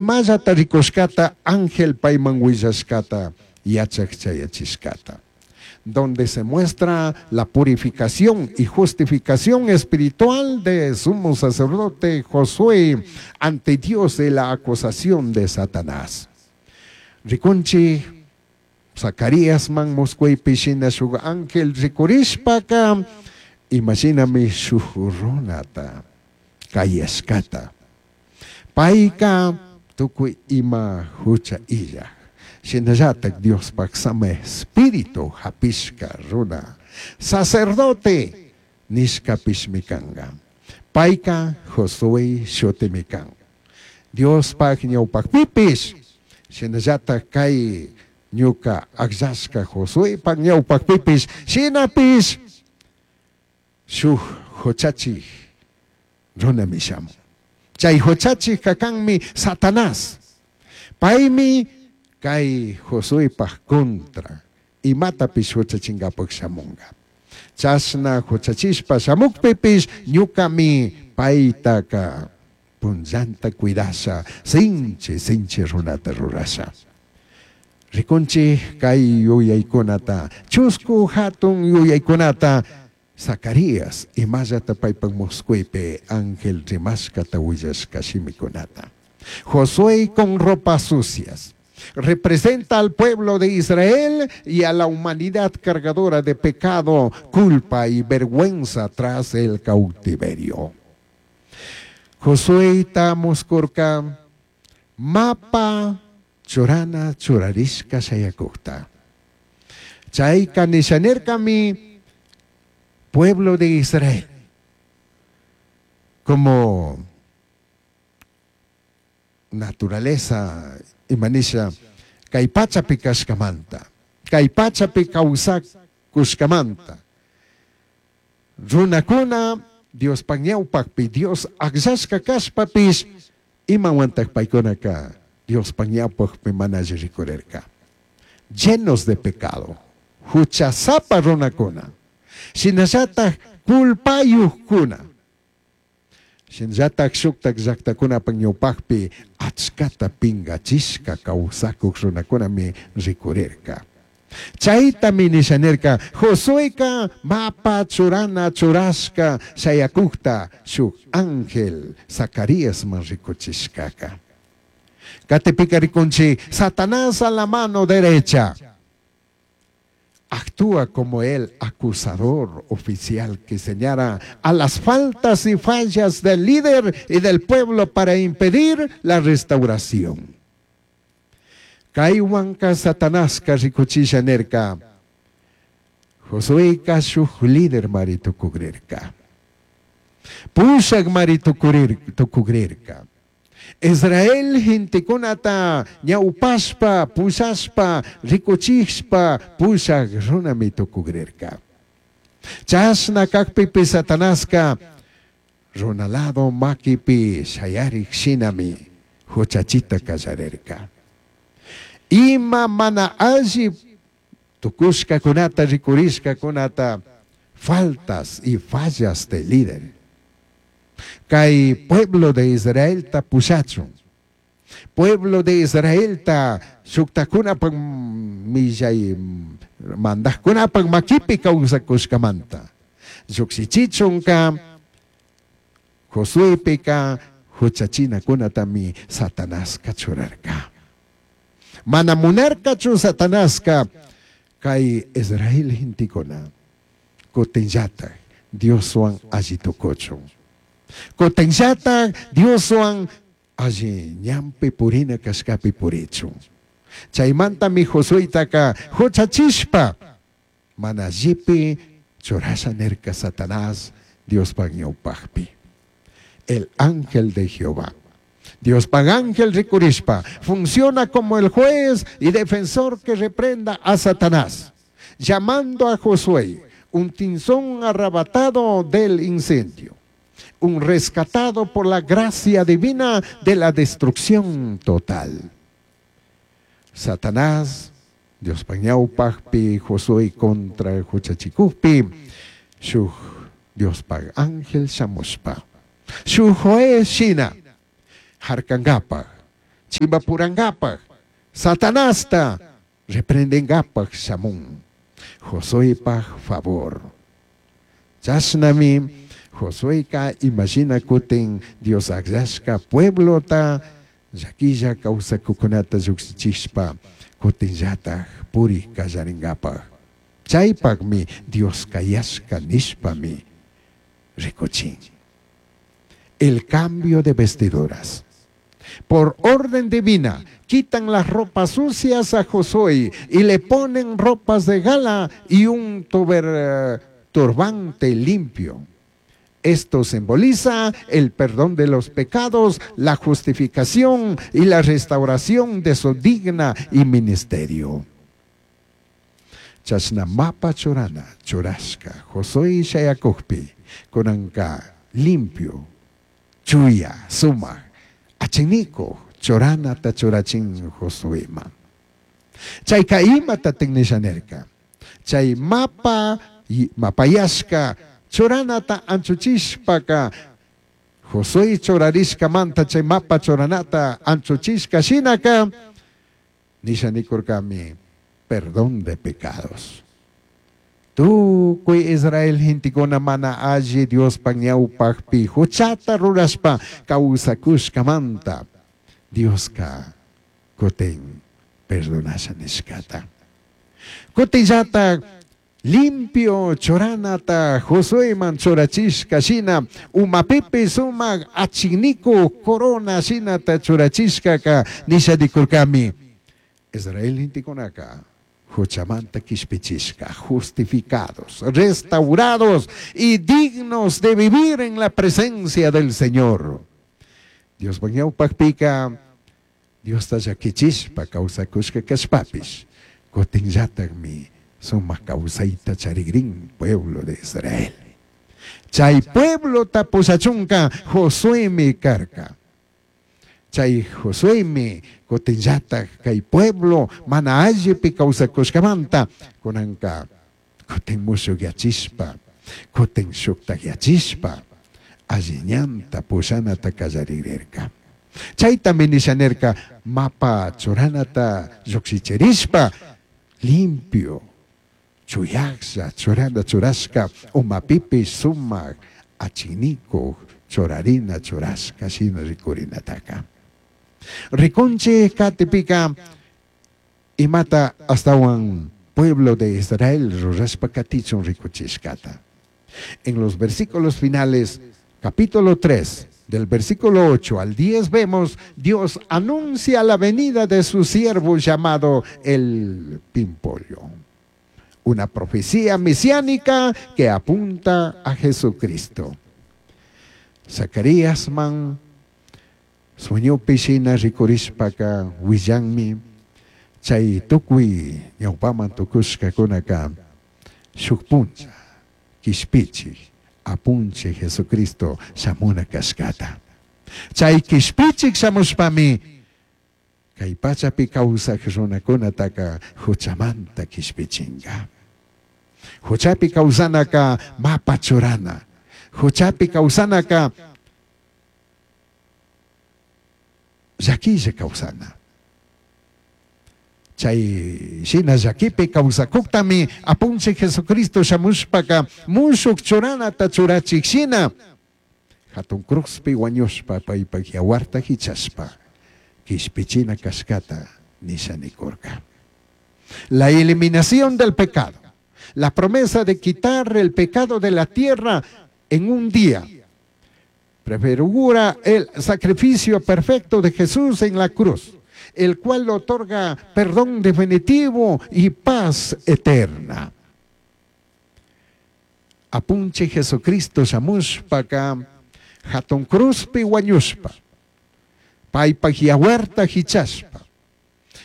Imallata ricushcata ángel paiman huillashcata yachaj chayachishcata. Donde se muestra la purificación y justificación espiritual de sumo sacerdote Josué ante Dios y la acusación de Satanás. Ricunchi Zacaríasman muscuipi shina shuj ángel ricurishpaca imashinami shuj runata cayashcata. Paica tucui ima jucha illaj. Shinallataj Diospaj sama espíritu japishca runa. Sacerdote nishcapishmi canga. Paica Josué shutimi can. Diospaj ñawpajpipish shinallataj kay ñuka akllashka Josuepaj ñawpajpipish shinapish shuj huchachij runami shamun. Chay huchachijka kanmi Satanás. Paymi kay Josuepaj contra imatapish huchachinkapak shamunga. Chashna huchachishpa shamukpipish ñukami paytaka punllanta cuidasha sinchi sinchi runata rurasha. Rikunchi kay yuyaykunata, chusku hatun yuyaykunata Zacarías imallata paypak muscuypi ángel rimashkata willashka shimikunata. Josué con ropas sucias representa al pueblo de Israel y a la humanidad cargadora de pecado, culpa y vergüenza tras el cautiverio. Josué muskurka mapa churana churarishka shayakukta. Chayka nishanirkami pueblo de Israel como naturaleza imanisha kay pachapi kashkamanta, kay pachapi kawsakushkamanta. Runakuna Diospaj ñawpakpi Dios akllashka kashpapish imawantak paykunaka Diospaj ñawpakpi mana alli rikurirka. Llenos de pecado, huchasapa runakuna, shinallataj culpayuqkuna. Shinallataj shuktak llaktakunapak ñawpakpi achkata pingachishka kawsakuk runakunami rikurirka. Chaytami nishanirka Josueka mapa churana churashka shayakukta shuk ángel Zacaríasman rikuchishkaka. Katipika rikunchi Satanás a la mano derecha actúa como el acusador oficial que señala a las faltas y fallas del líder y del pueblo para impedir la restauración. Kaywanka Satanaska rikuchisha nirka. Josueka shuj líder mari tukugrirka. Pushak mari tukugrirka. Israel gentekunata ñawpashpa, pushashpa, rikuchishpa, pushak runami tukugrirka. Chashna kakpipi Satanaska runalado makipi shayarik shinami huchachita kallarirka. Ima mana alli tukushkakunata rikurishkakunata faltas y fallas del líder. Kay pueblo de Israel ta pushachun. Pueblo de Israel ta shuktakunapak millay mandajkunapak makipi kawsakushkamanta. Llukshichichunka Josuepika huchachinakunatami Satanaska churarka. Mana munarkachu Satanaska kay Israel gentekuna kutinllatak Dioswan alli tukuchun. Kutinllatak Dioswan alli ñanpi purina kashkapi purichun. Chaymantami Josuetaka huchachishpa mana allipi churasha nirka Satanás Diospaj ñawpakpi. El ángel de Jehová. Diospaj ángel rikurishpa funciona como el juez y defensor que reprenda a Satanás, llamando a Josué un tinzón arrebatado del incendio, un rescatado por la gracia divina de la destrucción total. Satanás, Diospaj ñawpakpi, Josué contra huchachikukpi, shuj Diospaj ángel shamushpa. Shuj juez shina, harkankapaj, Chimbapurangapaj, Satanasta reprendengapaj shamun. Josuepaj favor. Chashnami Josueca imashina kutin Dios agllashca pueblota llaquilla kawsakukunata llujshichishpa kutinllataj puri kallaringapaj. Chaypakmi Dios kayashka nishpami rikuchin. El cambio de vestiduras. Por orden divina, quitan las ropas sucias a Josué y le ponen ropas de gala y un turbante limpio. Esto simboliza el perdón de los pecados, la justificación y la restauración de su digna y ministerio. Chashna mapa churana, churashka, Josué shayakujpi, kunanka limpio, chuya, sumaj, achiniko, churanata churachin Josueman. Chayka imatatik nisha nirka. Chay mapa, mapayashka, churanata anchuchishpaka, Josué churarishkamanta chay mapa churanata anchuchishka shinaka, nisha nikurkami, perdón de pecados. Tukuy Israel gentekuna mana alli Diospaj ñawpajpi huchata rurashpa kawsakushkamanta Dioska kutin perdonasha nishkata. Kutinllatak limpio churanata Josueman churachishka shina umapipi sumak achiniku corona shinata churachishkaka nisha nikurkami. Israel gentekunaka huchamanta quishpichishka, justificados, restaurados y dignos de vivir en la presencia del Señor. Dios ñawpajpika, Diosta llakichishpa kawsakushka kashpapish, kutinllatakmi sumak kawsayta charigrin pueblo de Israel. Chay pueblota pushachunka Josuemi karka. Chay Josuemi kutinllatak kay pueblo mana allipi kawsakushkamanta kunanka kutin mushukyachishpa, kutin shuktakyachishpa alli ñanta pushanata kallarirka. Chaytami nisha nirka mapa churanata llukshichirishpa limpio chuyaklla churana churashka umapipish sumak achinikuj churarina churashka shina rikurinataka. Rikunchik katipika imata astawan pueblo de Israel rurashpa katichun rikuchishkata. En los versículos finales, capítulo 3, del versículo 8 al 10 vemos, Dios anuncia la venida de su siervo llamado el Pimpollo. Una profecía mesiánica que apunta a Jesucristo. Zacarías man sueñopi shina rikurishpaka willanmi chay tukuy ñawpaman tukushkakunaka shuk puncha kishpichik apunchik Jesucristo shamuna kashkata. Chay kishpichik shamushpami kay pachapi kawsak runakunataka huchamanta kishpichinka. Huchapi kawsanaka mapa churana. Huchapi kawsanaka llakilla kawsana. Chay shina llakipi kawsakuktami apunchik Jesucristo shamushpaka mushuk churanata churachik shina hatun cruzpi wañushpa paypak yawarta hichashpa kishpichina kashkata nisha nikurka. La eliminación del pecado, la promesa de quitar el pecado de la tierra en un día, prefigura el sacrificio perfecto de Jesús en la cruz, el cual otorga perdón definitivo y paz eterna. Apunche Jesucristo shamushpaka hatun cruzpi wañushpa, paypak yawarta hichashpa,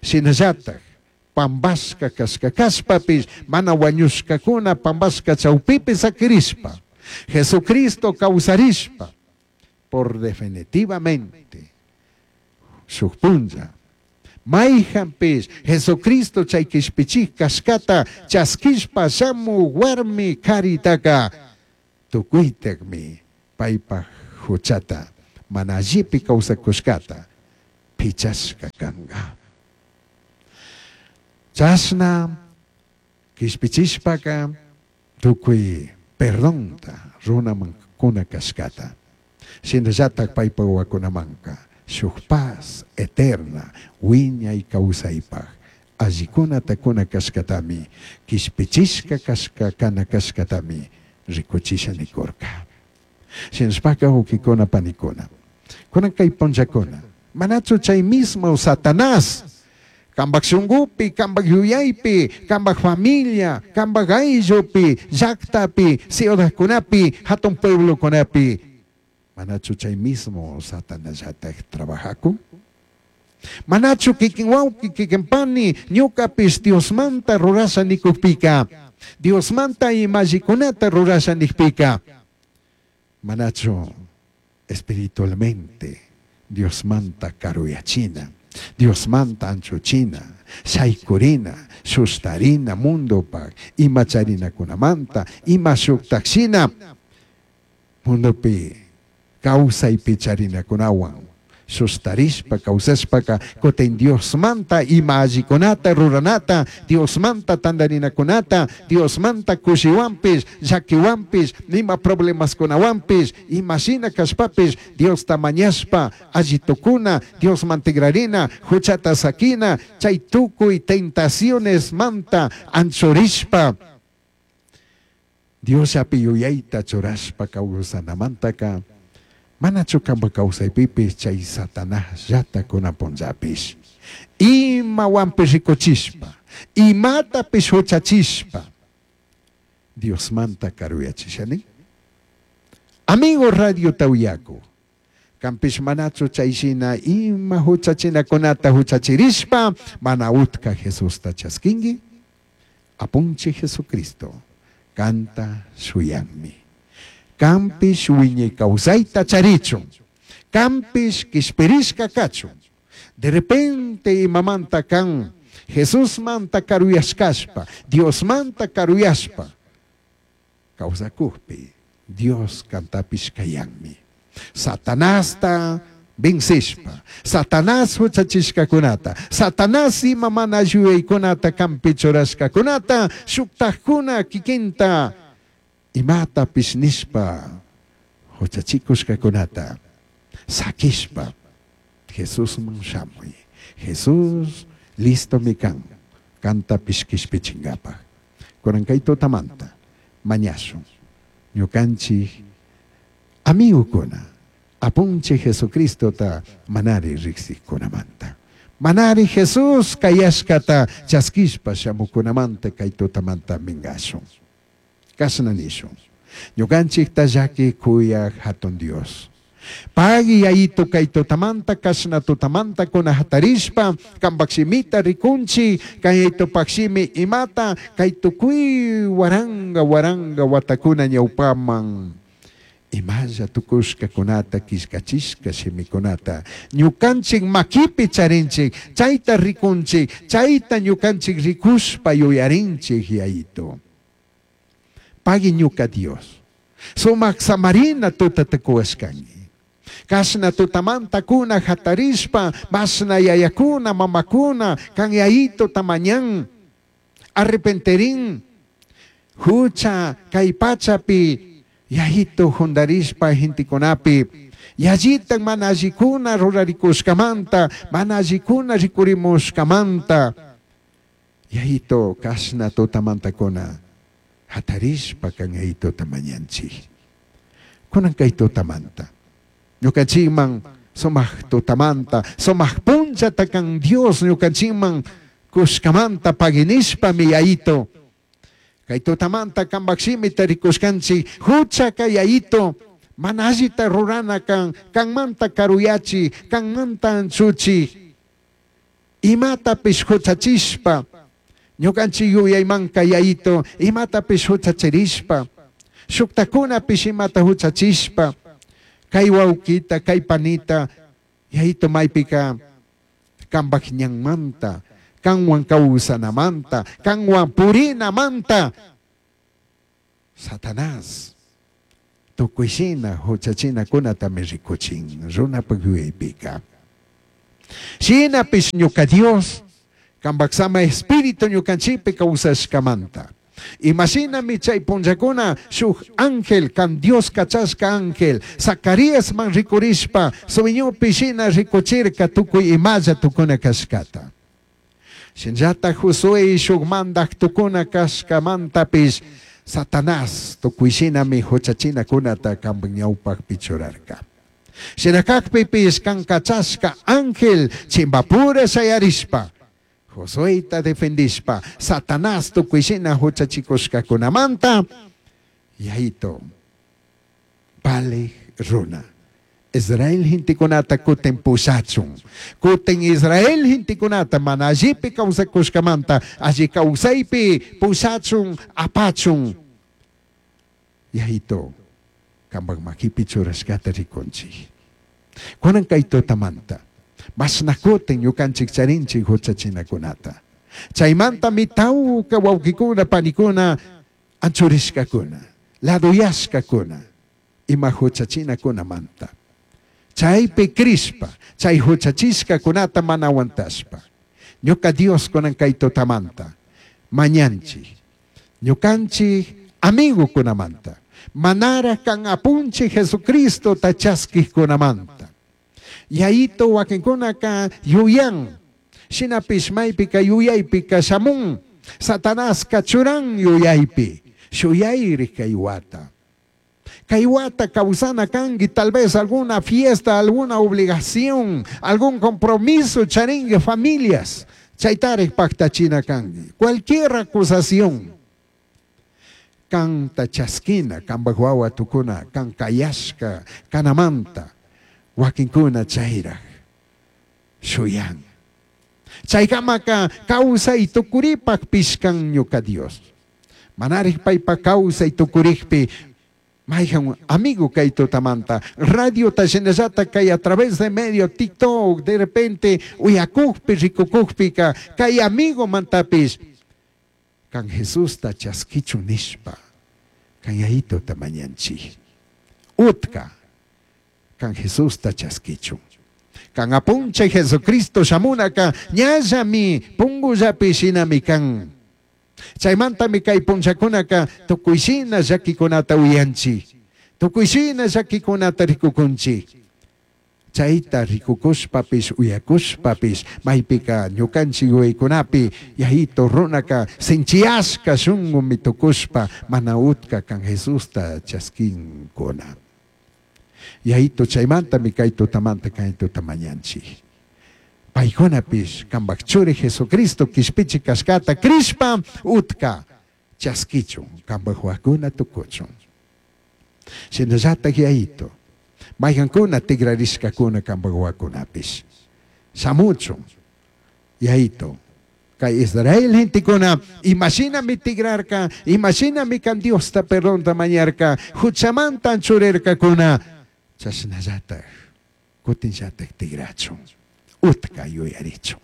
shinallatak pambashka kashka kashpapish mana wañushkakuna pambashka chawpipi sakirishpa, Jesucristo kawsarishpa por definitivamente shuk punlla mayjanpish Jesucristo chay kishpichik kashkata chaskishpa shamu warmi karitaka tukuytakmi paypak huchata mana allipi kawsakushkata pichashca canga. Chashna quishpichishpaca tucui perdonta runaman cuna cashcata. Shinallataj paipa wawacunamanca shuj paz eterna huiñai causaipaj allicunata cuna cashcatami quishpichishca cashca cana cashcatami ricuchisha nicurca. Shinashpaca huauquicuna panicuna, cunan cai punllacuna, manachu chai mismo Satanás cambaj shungupi, cambaj yuyaipi, cambaj familia, cambaj ayllupi, llactapi, ciudadcunapi, jatun pueblocunapi, manachu chay mismo Satanasllataj trabajacun? Manachu kikin wauqui, kikin pani, ñucapish Diosmanta rurasha nikukpika, Diosmanta imallikunata rurasha nijpika, manachu espiritualmente Diosmanta karuyachina, Diosmanta anchuchina, shaykurina, shustarina mundopaj, ima charinakunamanta, ima shuktajshina mundopi kawsaypi charinakunawan shustarishpa kawsashpaka kutin Diosmanta ima allikunata ruranata, Diosmanta tandarinakunata, Diosmanta kushiwanpish, llakiwanpish, ima problemaskunawanpish, imashina kashpapish Diosta mañashpa alli tukuna, Diosman tigrarina, huchata sakina, chay tukuy tentacionesmanta anchurishpa Diosllapi yuyayta churashpa kawsanamantaka manachu kanpa kawsaypipish chay Satanasllata kunan punllapish imawanpish rikuchishpa, imatapish huchachishpa Diosmanta karuyachishani? Amigo radiota uyaku, kanpish manachu chay shina ima huchachinakunata huchachirishpa mana utka Jesusta chaskinki? Apunchij Jesucristo kanta shuyanmi. Kanpish wiñay kawsayta charichun, kanpish kishpirishka kachun. De repente imamanta kan Jesusmanta karuyashkashpa, Diosmanta karuyashpa kawsakukpi Dios kantapish kayanmi. Satanasta vencishpa, Satanás huchachishkakunata, Satanás ima mana yuyaykunata kanpi churashkakunata, shuktajkuna kikinta imatapish nishpa huchachikushkakunata sakishpa Jesusman shamuy. Jesús listomi kan kantapish kishpichinkapaj. Kunan kay tutamanta mañashun ñukanchik amigokuna apunchik Jesucristota manari riksikunamanta. Manari Jesús kayashkata chaskishpa shamukunamanta kay tutamanta minkashun. Kashna nishun. Ñukanchikta llaki kuyaj hatun Dios. Pagui yayito kay tutamanta kashna tutamanta kuna hatarishpa kanpak shimita rikunchik kay yayitupak shimi imata kay tukuy waranga waranga watakuna ñawpaman imalla tukushkakunata killkachishka shimikunata ñukanchik makipi charinchik chayta rikunchik chayta ñukanchik rikushpa yuyarinchik yayito. Pagui ñuka Dios. Sumak samarina tutata kuwashkanki. Kashna tutamanta kuna hatarishpa mashna yayakuna mamakuna kan yayito tamañan arrepenterin hucha kay pachapi yayito jundarishpa gentekunapi yallitan mana allikuna rurarikushkamanta mana allikuna rikurimushkamanta yayito kashna tutamantakuna hatarishpa kan yayito tamañanchik. Kunan kay tutamanta ñukanchikman sumaq tutamanta sumaq punchata kan Dios ñukanchikman kushkamanta paginishpami yayito kay tutamanta kanpak shimita rikushkanchik huchaka yayito mana allita rurana kan kanmanta karuyachi kanmanta anchuchi imatapish huchachishpa ñukanchik yuyaymanka yayito imatapish huchachirishpa shuktakunapish imata huchachishpa kay wawkita kay panita yayito maypika kanpak ñanmanta kanwan kawsanamanta kanwan purinamanta Satanás tukuy shina huchachinakunatami rikuchin runapak yuyaypika. Shinapish ñuka Dios, kambak sama espíritu ñukanchikpi kawsashkamanta. Imashinami chay punllakuna shuk ángel, kan Dios kachashka ángel, Zacaríasman rikurishpa, sueñopi shina rikuchirka tukuy imalla tukuna kashkata. Shinllata Josué shuk mandaj tukuna kashkamantapish Satanás tukuy shinami huchachinakunata kanpak ñawpakpi churarka. Shina kakpipish kan kachashka ángel chimbapura shayarishpa, Josueta defendishpa, Satanás tukuy shina huchachikushkakunamanta, Yayito, valej runa. Israel gentekunata kutin pushachun. Kutin Israel gentekunata mana allipi kawsakushkamanta, alli kawsaypi pushachun, apachun. Yayito, kampak makipi churashkata rikunchik. Kunan kay tutamanta, mashna kutin ñukanchik charinchik huchachinakunata. Chaymantami tawka wawqikuna panikuna anchurishkakuna, laduyashkakuna, ima huchachinakunamanta. Chaypi crishpa, chay huchachishkakunata mana aguantashpa. Ñuka Dios kunan kay tutamanta, mañanchik, ñukanchik amigukunamanta, manara kan apunchik Jesucristo chaskijkunamanta. Yayito wakinkunaka yuyan, shinapish maypika yuyaypika shamun, Satanaska churan yuyaypi, shuyayri kay wata. Kay wata kawsana kanki, tal vez alguna fiesta, alguna obligación, algún compromiso charingue familias, chaytarik paktachina kanki. Cualquier acusación, kanta chaskina, kanpak wawa tukuna, kan kayashka, kanamanta, wakinkuna chayraj, shuyan. Chaykamaka kawsay tukuripak pishkan ñuka Dios. Manarik paypa kawsay tukurikpi, mayjan amigo kay tutamanta, radio shinallata kay a través de medio TikTok, de repente uyakukpi, rikukukpika, kay amigo mantapish, kan Jesusta chaskichu nishpa, kan yayituta mañanchik. Utka, kan Jesusta chaskichu. Kan apunche Jesucristo shamunaka, ñallami pungullapi shinami kan. Chaymantami kay punchakunaka tukuyshina llakikunata uyanchik, tukuyshina llakikunata rikukunchik. Chayta rikukushpapish uyakushpapish maypika ñukanchik yuyaykunapi yayito runaka sinchiyashka shunqumi tukushpa mana utka kan Jesusta chaskinkuna. Yayito chaymantami kay tutamanta kay tuta mañanchik. Paykunapish kanpak churi Jesucristo kishpichi kashkata crishpa utka chaskichun kanpak wawakuna tukuchun. Shinallatak yayito mayqankuna tikrarishkakuna kanpak wawakunapish shamuchun yayito kay Israel gentekuna imashinami tigrarka, imashinami kan Diosta perdonta mañarka, huchamanta anchurirkakuna, chashnallatak kutinllatak tigrachun, utka yuyarichun.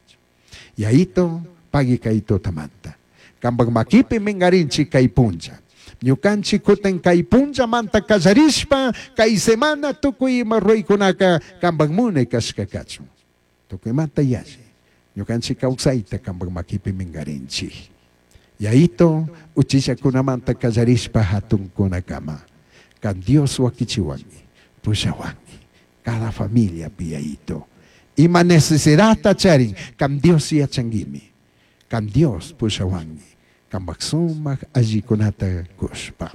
Yayito pagui kay tutamanta. Kanpak makipi mingarinchik kay punlla. Ñukanchik kutin kay punllamanta kallarishpa, kay semana tukuy ima ruraykunaka kanpak munay kashka kachun. Tukuymanta yalli. Ñukanchik kawsayta kanpak makipi mingarinchik. Yayito uchillakunamanta kallarishpa hatunkunakama. Kan Dios wakichiwanki, pushawanki. Cada familia yayito. Ima necesidadta charin, kan Dios yachanguimi. Kan Dios pushawanki. Kanpak sumak allikunata kushpa.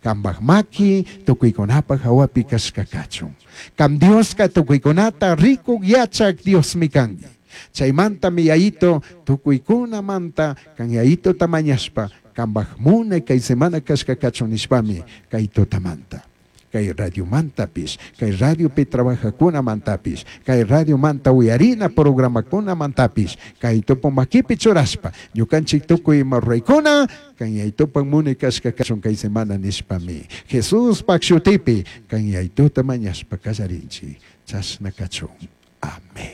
Kanpak maki tukuykunapak hawapi kashka kachun. Kan Dioska tukuykunata rikuk yachak Diosmi kanki. Chaymantami yayito tukuykunamanta kan yayito tamañashpa kanpak munay kay semana kashka kachun nishpami kay tutamanta. Kay radiomantapis, kay radiopi trabajakunamantapis, kay radiomanta uyarina programakunamantapis, kay tupu makipi churashpa, ñukanchik tukuy ima ruraykuna, kan yaytupan munay kashka kachun kay semana nishpami. Jesuspak shutipi, kan yaytuta mañashpa kallarinchik, chashna kachun. Amén.